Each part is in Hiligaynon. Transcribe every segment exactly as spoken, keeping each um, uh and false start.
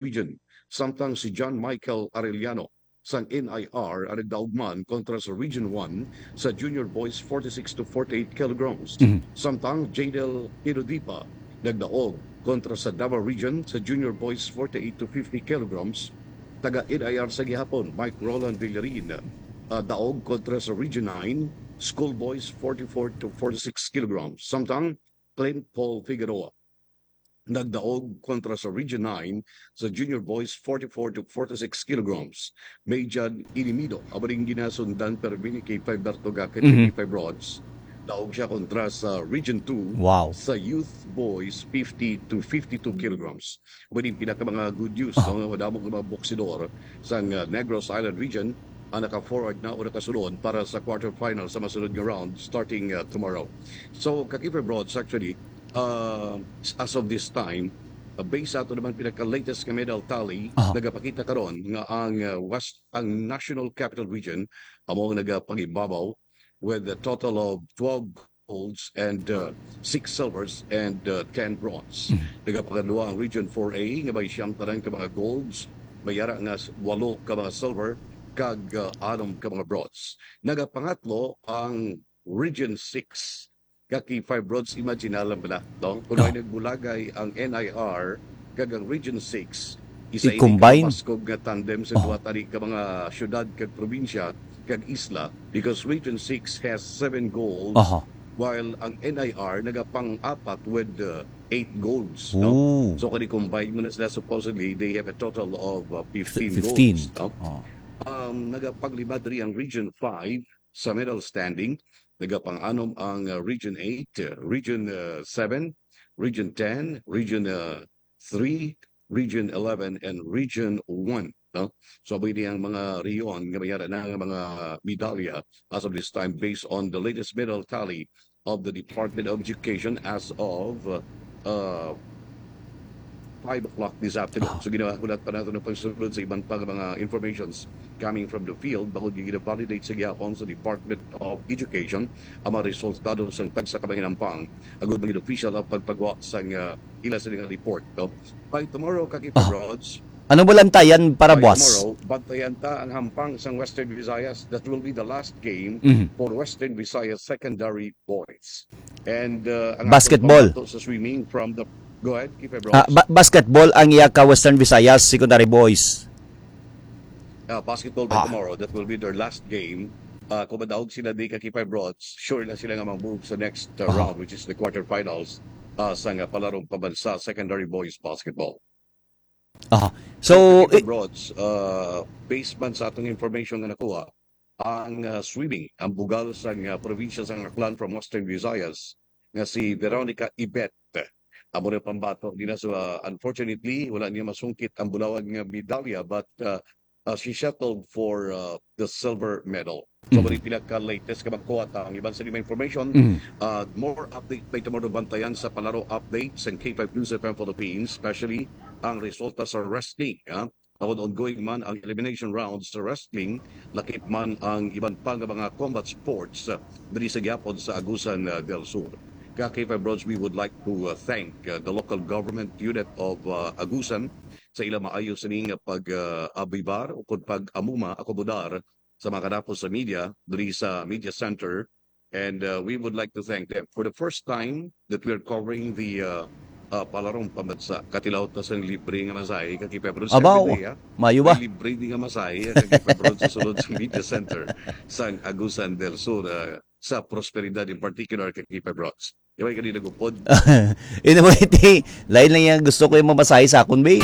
Region, samtang si John Michael Arellano sang N I R ang nagdaog man kontra sa Region one sa junior boys forty-six to forty-eight kilograms. Mhm. Samtang Jadel Hirodipa nagdaog kontra sa Davao Region sa junior boys forty-eight to fifty kilograms. Taga N I R sa gihapon, Mike Roland Villarin, ah, daog kontra sa Region nine, school boys forty-four to forty-six kilograms. Samtang Clint Paul Figueroa nagdaog kontra sa Region nine sa junior boys forty-four to forty-six kilograms. May John Inimido, amo ning ginasundan permi ni K five Berto Gakit, Mhm. K five Rods. Daog siya kontra sa Region two Wow. sa youth boys fifty to fifty-two kilograms. Amo ning pinaka mga good news, Ah. no? Madamo nga mga boksidor sang, uh, Negros Island region ang naka-forward na o nakasulod para sa quarterfinal sa masunod nga round starting, uh, tomorrow. So, ka K five Rods, actually, uh, as of this time, uh, based sa ato naman pinaka-latest nga medal tally, Aha. nagapakita karon nga ang, uh, West, ang National Capital Region amo ang nagapangibabaw with a total of twelve golds and, uh, six silvers and, uh, ten bronze. Mm. Nagapakadua ang Region four A nga may siyam tanan ka mga golds, may ara nga s-, walo ka mga silver, kag, uh, anom ka mga bronze. Nagapangatlo ang Region six. Ka K five Rods, imagine lang bala, no? Kung Ah. may nagbulagay ang N I R kag ang Region six, isa ini I-combine? ka mabaskog nga tandem sa Oh. duha tani ka mga syudad kag probinsya kag isla, because Region six has seven goals, Aha. while ang N I R nagapang-apat with, uh, eight goals, no? Ooh. So, kung i-combine mo na sila, supposedly, they have a total of, uh, fifteen Fifteen. goals, no? Oh. Um, nagapanglima diri ang Region five sa medal standing. Nagapang-anom ang, uh, Region eight, uh, Region, uh, seven, Region ten, Region, uh, three, Region eleven, and Region one, no? So, amo ini ang mga rehiyon nga may ara na nga mga medalya as of this time, based on the latest medal tally of the Department of Education as of, uh, five o'clock this afternoon. Ah. So, ginahulat pa nato ang pagsulod sa iban pa nga mga informations coming from the field, bangod nga gina-validate sa gihapon sa Department of Education ang mga resultado sang tagsa ka mga hinampang, agud magin-official ang pagpagwa sang, uh, ila sini nga report, no? By tomorrow, ka K five Ah. Rods, Ano mo lantayan para by buwas? tomorrow, bantayan ta ang hampang sang Western Visayas. That will be the last game Mhm. for Western Visayas Secondary Boys. And, uh, ang Basketball. atong pambato sa swimming from the, go ahead, K five Rods. Ah, ba-, basketball ang iya ka Western Visayas Secondary Boys. Ah, basketball by Ah. tomorrow. That will be their last game. Ah, kung madaog sila di ka K five Rods, sure na sila nga mag-move sa next, uh, Aha. round, which is the quarterfinals, ah, sa nga palarong pambansa secondary boys basketball. Aha. So, K five i- Rods, ah, based man sa atong information nga nakuha, ang, ah, swimming, ang bugal sa nga probinsya sa Aklan from Western Visayas, nga si Veronica Ibet, amo na pambato nila. So, ah, unfortunately, wala niya masungkit ang bulawan nga medalya, but, ah, uh, she settled for, uh, the silver medal. So, Mhm. mali pila ka latest ka magkuha ta ang iban sa mga information. Mhm. Uh, more update by tomorrow, bantayan sa palaro update sa K five News F M Philippines, especially ang resulta sa wrestling, ha? Ang ongoing man ang elimination rounds sa wrestling, lakip man ang iban pa nga mga combat sports, uh, diri sa gihapon sa Agusan, uh, del Sur. Ka K five Rods, we would like to, uh, thank, uh, the local government unit of, uh, Agusan sa ila maayo sini nga pag, ah, abibar o kon pag-amuma, akomodar sa mga kanapo sa media diri sa media center. And, ah, we would like to thank them for the first time that we are covering the, ah, ah, palarong pambansa. Katilaw ta sang libre nga masahe, ka K five Rods, Abaw, every day, ah. Maayo ba? May libre di nga masahe, ka K five Rods, sa sulod sa media center sang Agusan del Sur, ah, sa Prosperidad in particular, ka K five Rods. Di ba, ikaw di nagupod? Anyway, ti, lain lang yan. Gusto ko yung mamasahe sa akon, be.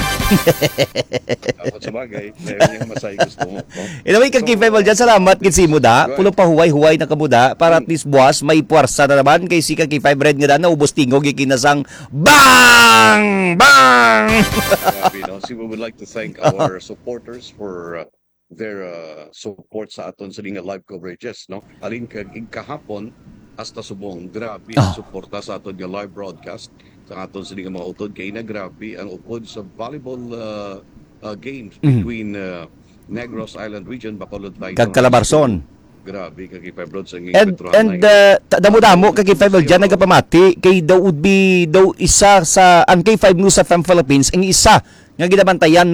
Dapat sa bagay, lain lang yung masahe gusto mo, no? Anyway, ka K five Rods, salamat gid sa imo da. Good. Pulo pa huway-huway na kamo da. Para at least buwas, may puwersa na naman. Kay si ka K five Red nga da, naubos tingog, ikinasang bang! Bang! Grabe, no? So we would like to thank our supporters for, uh, their, uh, support sa aton sini nga live coverages, no? Alin kag igkahapon hasta subong, grabe ang Ah. suporta sa aton nga live broadcast sa aton sini nga mga utod. Kay na grabe ang upod sa volleyball, uh, uh, games Mhm. between, uh, Negros Island Region, Bacolod Vice Kag Calabarzon. Grabe ka, K five Lods, ang And Petrohan and ay uh, ta- damo-damo ka K five Lods dyan nagapamati kay daw would be daw isa sa ang K five News F M Philippines ang isa nga ginabantayan